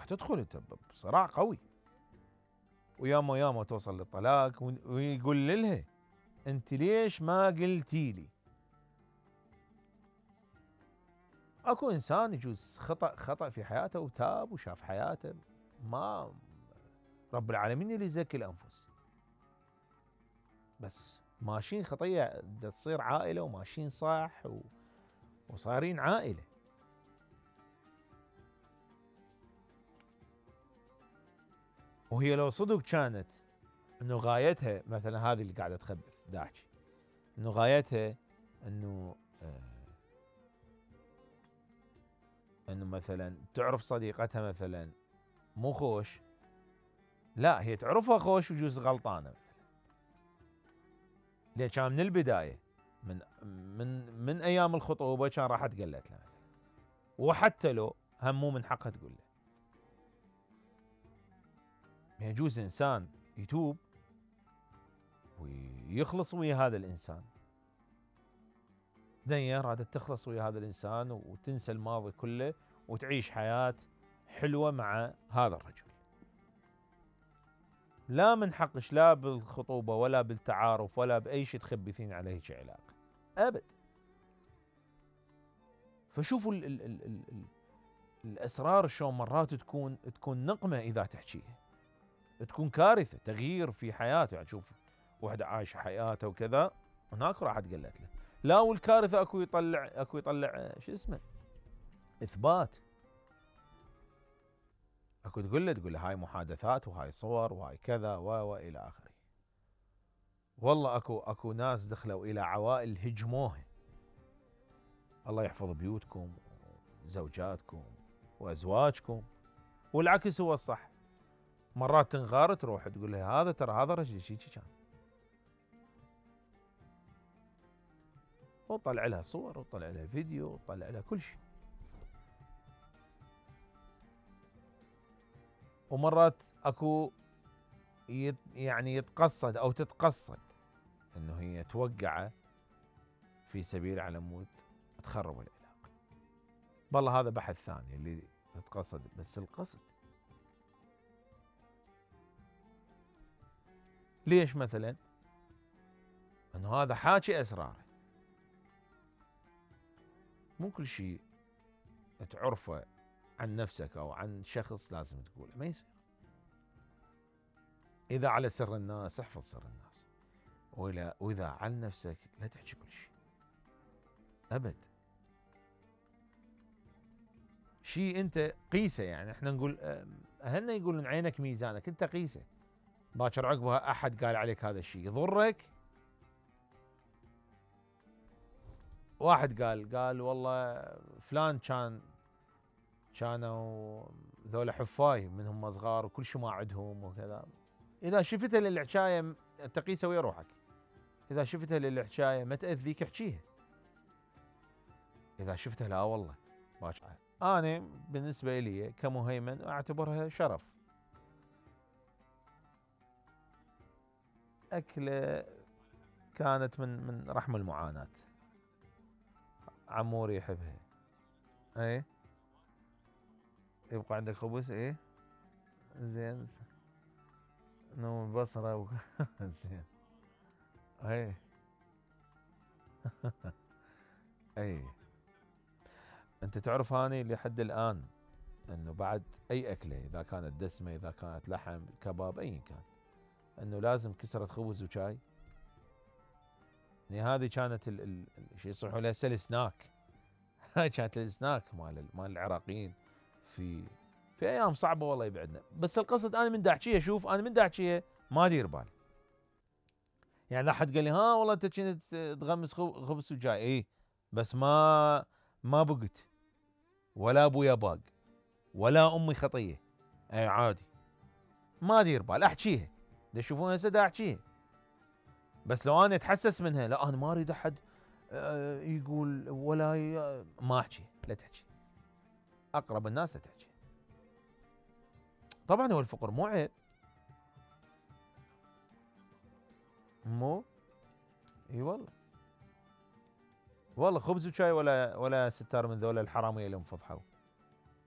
راح تدخل انت بصراع قوي، وياما توصل للطلاق، ويقول لها انت ليش ما قلتي لي؟ اكو انسان يجوز خطأ في حياته وتاب وشاف حياته، ما رب العالمين اللي يزكي الانفس، بس ماشيين خطيه تصير عائله وماشيين صح وصايرين عائله. وهي لو صدق كانت انه غايتها مثلا هذه اللي قاعده تخبث داحكي، انه غايتها انه انه مثلا تعرف صديقتها مثلا مو خوش، لا هي تعرفها خوش وجوز غلطانه مثلا، لان كان من البدايه من ايام الخطوبه كان راحت قالت له مثلا، وحتى لو هم مو من حقها تقول له. يجوز انسان يتوب ويخلص ويا هذا الانسان، دنيا رادت تخلص ويا هذا الانسان وتنسى الماضي كله وتعيش حياه حلوه مع هذا الرجل. لا من حقش لا بالخطوبه ولا بالتعارف ولا باي شيء تخبثين على هيك علاقه ابد. فشوفوا ال الاسرار شلون مرات تكون نقمه اذا تحكيها، تكون كارثه تغيير في حياته. يعني شوف وحده عايشه حياته وكذا، هناك راحت قالت له لا، والكارثه اكو يطلع شو اسمه اثبات، اكو تقول له هاي محادثات وهاي صور وهاي كذا والى اخره. والله اكو ناس دخلوا الى عوائل هجموها. الله يحفظ بيوتكم وزوجاتكم وازواجكم، والعكس هو الصح. مرات تنغار تروح تقول له هذا ترى هذا رجل شي كان، وطلع لها صور وطلع لها فيديو وطلع لها كل شيء. ومرات اكو يعني يتقصد او تتقصد انه هي توقعه في سبيل على مود تخرب العلاقه. والله هذا بحث ثاني اللي تتقصد، بس القصد ليش؟ مثلا انه هذا حاكي اسراره، مو كل شيء تعرفه عن نفسك او عن شخص لازم تقوله، ما يصير. اذا على سر الناس احفظ سر الناس، واذا عن نفسك لا تحكي كل شيء ابد. شيء انت قيسه، يعني احنا نقول اهلنا يقولون عينك ميزانك، انت قيسه. باكر عقبها احد قال عليك هذا الشيء يضرك. واحد قال والله فلان كانوا ذولا حفاي من هم صغار وكل شيء ما عندهم وكذا. اذا شفتها للحكايه انت قيسه ويا روحك، اذا شفتها للحكايه ما تاذيك احكيها، اذا شفتها لا والله باكر. انا بالنسبه لي كمهيمن اعتبرها شرف. اكله كانت من رحم المعاناه، عموري يحبها. ايه يبقى عندك خبز؟ ايه زين، نوم البصره زين. ايه ايه. انت تعرف اني لحد الان انه بعد اي اكله اذا كانت دسمه اذا كانت لحم كباب ايا كان، انه لازم كسره خبز وشاي. يعني هذه كانت شيء يصيحوا لها السناك. هاي كانت السناك مال العراقيين في ايام صعبه والله يبعدنا. بس القصد انا من دا احكيها، شوف انا من دا احكيها ما ادير بالي. يعني لا حد قال لي ها والله انت كنت تغمس خبز وجاي، ايه بس ما بقت، ولا ابويا باق، ولا امي خطيه، اي عادي ما ادير بال احكيها. تشوفون هسه دا احكيها، بس لو انا اتحسس منها لا انا ما اريد احد يقول ولا ما احكي. لا تحكي، اقرب الناس لا تحكي. طبعا هو الفقر مو عيب، مو اي والله خبز وشاي ولا ستار من ذولا الحراميه اللي انفضحوا.